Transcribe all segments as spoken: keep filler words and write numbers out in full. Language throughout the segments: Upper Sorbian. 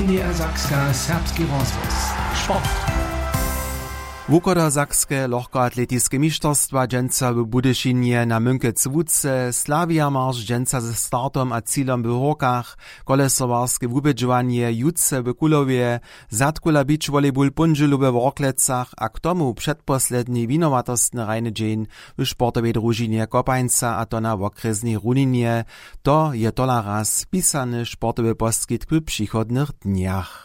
Sakska, serbski rozhłos. Sport. Wuchodosakskeje lochkoatletiske mišterstwa dźensa w Budyšinje na Mynkec łuce slawija marš dźensa ze startom a cilom w hórkach, kolesowarske wubědźowanje jutře w Kulowje, zadkula beach volleyball póndźělu we Worklecach a k tomu předposledni winowatostny hrajny dźeń w sportowej družinje Kopańca, a to na wokrjesnej runinje. To je tola raz pisany sportowy poskitk w přichodnych dnjach.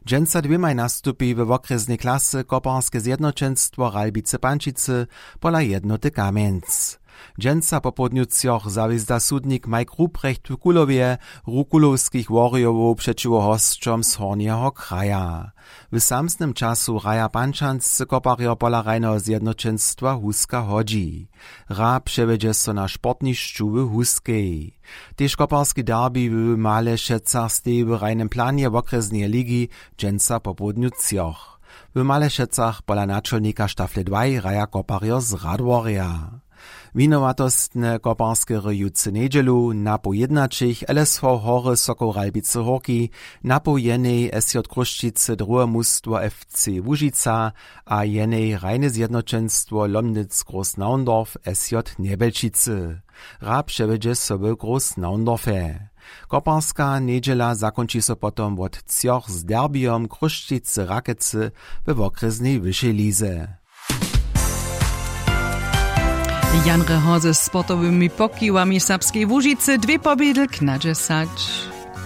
Dźensa dwěmaj nastupi we wokrjesnej klasy koparske zjednoćenstwo Ralbicy Pančicy pola Jednoty Kamjenc. Dźensa popołdnju třoch zawězda sudnik Mike Ruprecht w Kulowje rukulowskich Warriorow přećiwo hosćom z Hornjeho kraja. W samsnym času hraja pančanscy koparjo pola hrajneho zjednoćenstwa Huska hodźi. Hra přewjedźe so na sportnišću w Huskej. Tež koparski derbi w Malešecach steji w hrajnym planje wokrjesneje ligi dźensa popołdnju třoch. W Malešecach pola načolnika štafle dwaj hraja koparjo z Radworja. Winowatostne koparske hry jutře njedźelu napoł jědnaćich L S V Hory Sokoł Ralbicy Hórki, napoł jenej S J Chrósćicy druhe mustwo F C Łužica a jenej hrajne zjednoćenstwo Lomnitz Groß Naundorf S J Njebelčicy. Hra přewjedźe so w Groß Naundorfje. Koparska njedźela zakónči so potom wot třoch z derbijom Chrósćicy Rakecy we wokrjesnej wyšej lize. Jan Reho ze sportowymi pokiwami Serbskeje Łužicy dwě pobědl knadźesać.